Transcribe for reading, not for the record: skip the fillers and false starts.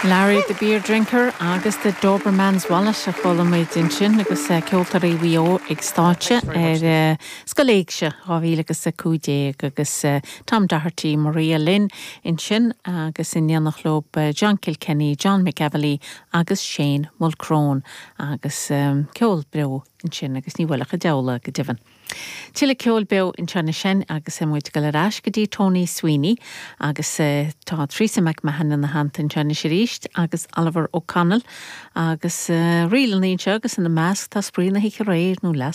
Larry the Beer Drinker agus The Doberman's Wallet a chuala muid ansin agus Ceoltóirí Mhaigh Eo ag stáitse ar Scoil Éigse 2015 agus Tom Doherty, Maria Lynn ansin agus in éineacht leo John Kilkenny, John McEvilly agus Shane Mulchrone agus ceol beo ansin agus ní bhuailfeadh an diabhal é go deimhin. Tuilleadh ceoil beo anseo anois agus muid ag dul ar ais go dtí Tony Sweeney agus tá Teresa McMahon ina theannta anseo anois arís agus Oliver O'Connell agus ríleanna anseo agus ina measc tá Spraoi na hOíche Aréir nó Leas.